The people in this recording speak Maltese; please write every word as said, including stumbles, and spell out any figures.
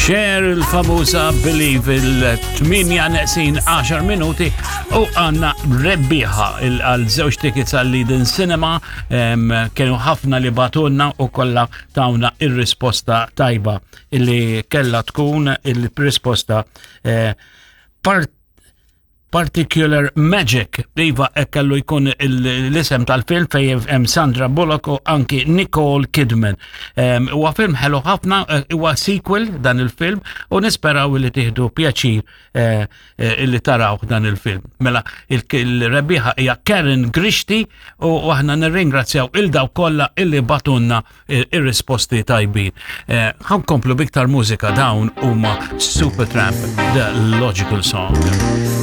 Cher, il-famuża Believe. Il-tmienja neqsin għaxar minuti u għandna rebbieħa għal żewġ tickets għal Eden Cinema. em, Kienu ħafna li bagħtulna u kollha tawna ir-risposta tajba illi kella tkun il-risposta eh, part Particular Magic. Iva, kellu jkun l-isem tal-film fej hemm Sandra Bullock u anki Nicole Kidman. Huwa film ħelu ħafna, eh, huwa sequel dan il-film u nisperaw li tieħdu pjaċir eh, eh, illi taraw dan il-film. Mela, il-rebbieħa hija Karen Grixti u aħna nirringrazzjaw lil dawk kollha illi bagħtulna ir-risposti tajbin. Ħa nkomplu b'iktar mużika. Dawn huma Supertramp, The Logical Song.